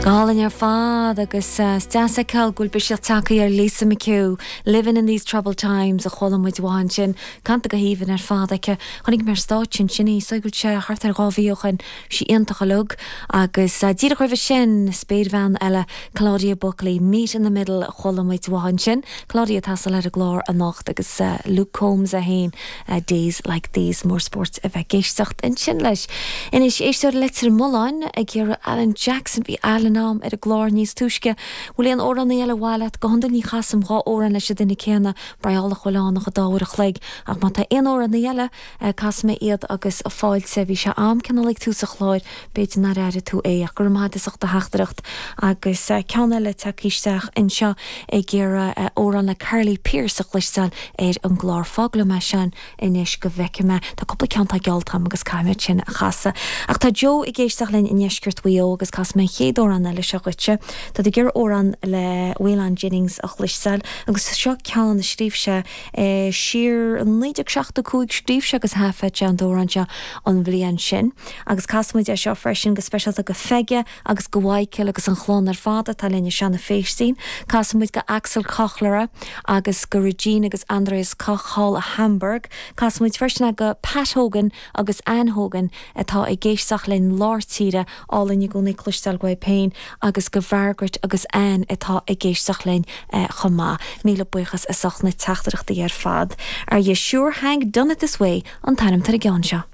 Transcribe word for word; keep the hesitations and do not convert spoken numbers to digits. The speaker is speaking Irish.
Go hálainn ar fad agus is deas a fheiceáil go bhfuil biseach tagtha ar Lisa McHugh, Living in these troubled times a chuala muid uaithi ansin, canta go haoibhinn ar fad aici. Chonaic mé ar stáitse ansin í, is dóigh go bhfuil sé thart ar dhá mhí ó shin, sí iontach uilig agus díreach roimhe sin spéirbhean eile Claudia Buckley, Meet in the Middle a chuala muid uaithi ansin. Claudia ag taisteal ar an gclár anocht agus Luke Combs é féin Days Like These mór spóirt a bheith ag éisteacht ansin leis. Anois éisteoir Leitir Mealláin ag iarraidh Alan Jackson bhí Alan am ar an gclár níos túisce. Bhfuil aon amhránaí eile ar mhaith leat go hiondúil ní chasaim dhá amhrán leis an duine céanna breála chuileánach a dáhar a chloig ach má tá aon amhránaí eile casfaidh mé iad agus fáilte bhí sé am cineál ag tús an chláir b'fhéidir nár airigh tú é ach go raibh maith as ucht do theachtaireacht agus ceann eile tagtha isteach anseo ag iarraidh amhrán le Carly Pearce a chloisteáil ar an gclár fág liom é sin anois go bhfeicfidh mé Tá cúpla ceann atá geallta agam agus caithfidh sin a chasadh. Ach tá Joe ag éisteacht linn i ndeisceart Mhaigh Eo agus casfaidh mé an chéad amhrán eile seo dhuitse. Tá ag iarraidh amhrán le Waylon Jennings a chloisteáil agus seo ceann a scríobh sé e, siar naoi déag seachtó cúig scríobh sé agus thaifead sé an t-amhrán seo an bhliain sin. Agus casfaidh muid é seo freisin go speisialta go Pheige agus go Michael agus an chlann ar fad atá linn i Seanadh Phéistín, Casfaidh muid go Axel Kochlera agus go Regine agus Andreas Koch thall i Hamburg, Casfaidh muid freisin go Pat Hogan agus Ann Hogan atá ag éisteacht linn lár tíre álainn i gcónaí cloisteáil uaibh féin agus go Margaret agus Ann atá ag éisteacht linn eh, chomh maith. Míle buíochas as ucht na teachtaireachtaí ar fad. Are you sure Hank done it this way an t-ainm ar an gceann seo.